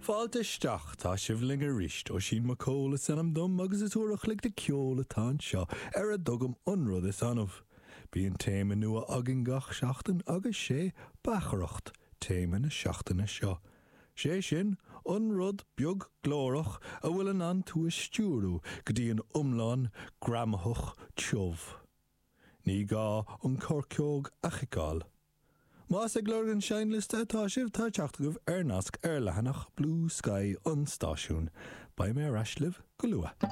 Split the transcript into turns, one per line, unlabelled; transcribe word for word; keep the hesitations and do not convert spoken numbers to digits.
Fáilte isteach tá sibh linn arís Oisín Mac Cóil is ainm dom agus is uair a chloig de ceol atá anseo ar a dtugaim an rud is annamh. Bíonn téama nua againn gach seachtain agus sé beachaireacht téama na seachtaine seo. Sé sin an rud beag glórach a bhfuil in ann tú a stiúradh go dtí an iomlán greamaitheach tiubh. Ní gá an choirceog a chiceáil. Más ag lorg an seinnliosta atá sibh tá teacht agaibh ar nasc ar leathanach Blue Sky an stáisiún, Beidh mé ar ais libh go luath.